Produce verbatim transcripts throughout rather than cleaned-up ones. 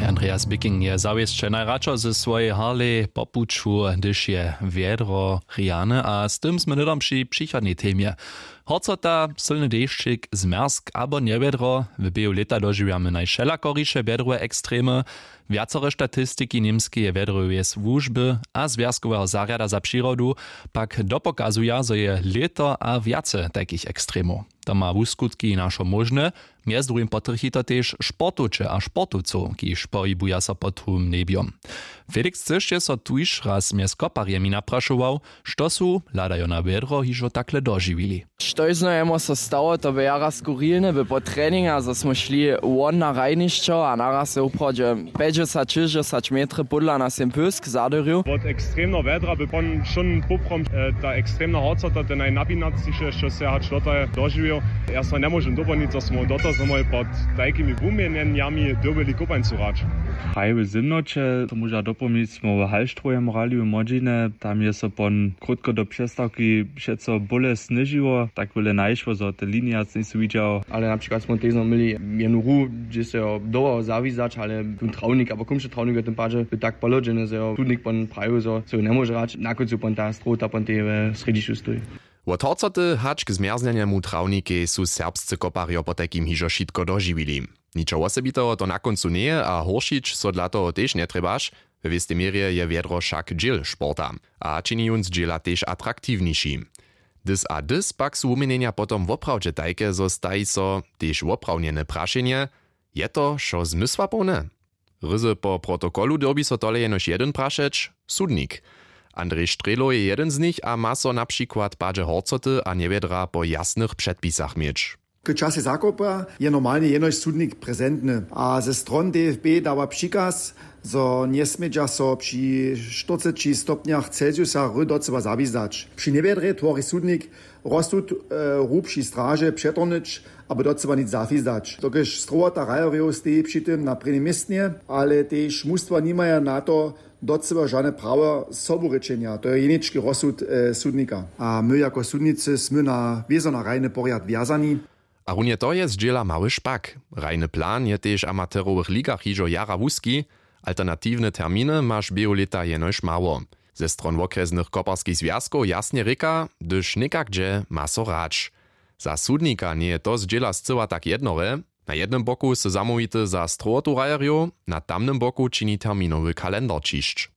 Andreas Bicking je zawěsće najradšo ze swojej Harley po puću, hdyž je wjedro rjane, a z tym smy hnydom při přichodnej temje. Horcota, sylny dešćik, zmjerzk abo njewjedro. W běhu lěta dožiwjamy najwšelakoriše wjedrowe ekstremy. Wjacore statistiki němskeje wjedroweje słužby a zwjazkoweho zarjada za přirodu pak dopokazuja, zo je lěto a wjace tajkich ekstremow. To ma wuskutki našo móžne. Mjez druhim potrjechi to tež sportowče a sportowcow, kiž pohibuja so pod hłowym njebjom. Felix, chceše so tuž raz mjez koparjemi naprašował, što su, hladajo na wjedro, hižo takle dožiwili? Štož znajemo so stało, to by jara skurilne by po treninga, zo smo šli won na hrajnišćo a naraz je wuprawdźe pjećdźesat šěsćdźesat metry pódla nas jen pysk zadyrju. Wot ekstremneho wjedra by pon wšón poprawom, e, ta ekstremna horcota, ten najnapinacniše, što se hač dotal dožiwił. Ja so njemóžem dopolnić, zo smo dotal znowu pod tajkimi wuměnjenjami dyrbjeli kopańcu hrać. Haj, w zymnoće, to móža dopolnić, smo w Hallstrowem hrali w młodźinje, tam je so pon krótko do přestawki přeco bóle sněžiło, tak wjele najšło, zo te linije njejsu widźał. Ale na přikład smo tež měli jednu hru, hdźe so jo dało zawizdać, ale tón trawnik abo kómše trawnik w tym padźe by tak pohlodźeny, zo jo sudnik pon prajił, zo so jo njemóže hrać, na kóncu pon ta strowota pon tej w srjedźišću stoji. Wot horcoty hač k zmjerznjenemu trawnikej su serbscy koparjo potajkim hižo wšitko dožiwili. Ničo wosebiteho to na kóncu njeje a hóršić so dla toho tež njetrjebaš. We wěstej měrje je wjedro wšak dźěl sporta a čini jón z dźěla tež atraktiwniši. Dys a dys pak su wuměnjenja potom woprawdźe tajke, zo staji so tež woprawnjene prašenje: Je to wšo zmysłapołne? Ryzy po protokolu dyrbi so tole jenož jedyn prašeć: sudnik. Andrej Strělow je jedyn z nich a ma so na přikład w padźe horcoty a njewjedra po jasnych předpisach měć. K časej zakopa je normalnje jenož sudnik prezentny a ze stron D F B dawa přikaz, zo njesmědźa so při štyrceći stopnjach Celsiusa hry docyła zawizdać. Při njewjedrje twori sudnik rozsud, e, hru při straže přetornyć abo docyła nic zawizdać. Dokelž strowota hrajerjow steji při tym na prěnim městnje, ale tež mustwa nimaja na to docyła žane prawo soburěčenja, to je jenički rozsud, e, sudnika. A my jako sudnicy smy na wězo na hrajny porjad wjazani. A runje to je zdźěla mały špak. Hrajny plan je tež w amaterowych ligach hižo jara wuski. Alternatiwne terminy maš běhu lěta jenož mało. Ze stron wokrjesnych koparskich zwjazkow jasnje rěka, hdyž někak dźe, ma so hrać. Za sudnika njeje to zdźěla scyła tak jednore. Na jednym boku sy zamołwity za strowotu hrajerjow, na tamnym boku čini terminowy kalendar ćišć.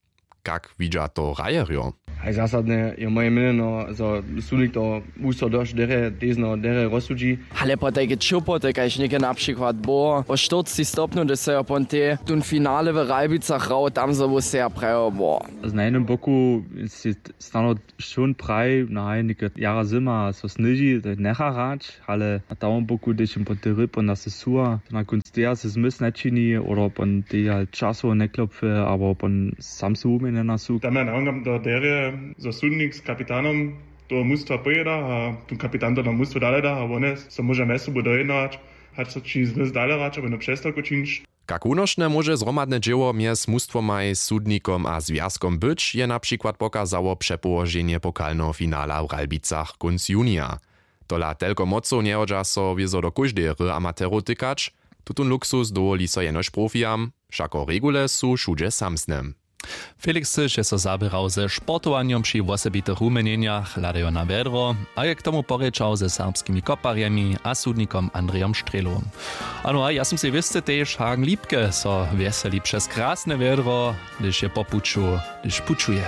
Kak widźa to hrajerjo? Haj, zasadnje je moje měnjeno, zo sudnik to wuso dosć derje, tezno derje rozsudźi. Ale potajke ćěłpoty, kaž něke na přikład było po štyrceći stopnju, hdyž so jo pontej tón finale w Ralbicach hrał, tam zo wóseja prajo było. Na jednym boku si snano wšón praji, no haj, něke jara zyma so sněži, to njecha hrać. Ale na tamnym boku, hdyž jim pon tej ryb pon nas suwa, to na kónc teja se zmysł nječini, oder pon teja časowo njeklopfe, abo pon sam se wuměnjena su. Tam ja nawonkam do derje, zo sudnik z kapitanom toho mustwa pojěda a tón kapitan to na mustwo dale da a wone so móža mjez sobu dojednać, hač so ći zmysł dale hrać abo jednu přestawku čińć. Kak wunošne móže zhromadne dźěło mjez mustwomaj, sudnikom a zwjazkom być, je na přikład pokazało přepołoženje pokalneho finala w Ralbicach kónc junija. Tola telko mocow njehodźa so wězo do kóždeje hry amaterow tykać. Tutón luksus dowoli so jenož profijam, wšako regule su wšudźe samsne. Felix Cyš je so zaběrał ze sportowanjom při wosebitych wuměnjenjach, hladajo na wjedro, a je k tomu porěčał ze serbskimi koparjemi a sudnikom Andrejom Strělow. Ano, a ja sym sej wěsty tež, Hagen Liebke so wjeseli přez krasne wjedro, hdyž je po puću, hdyž pućuje.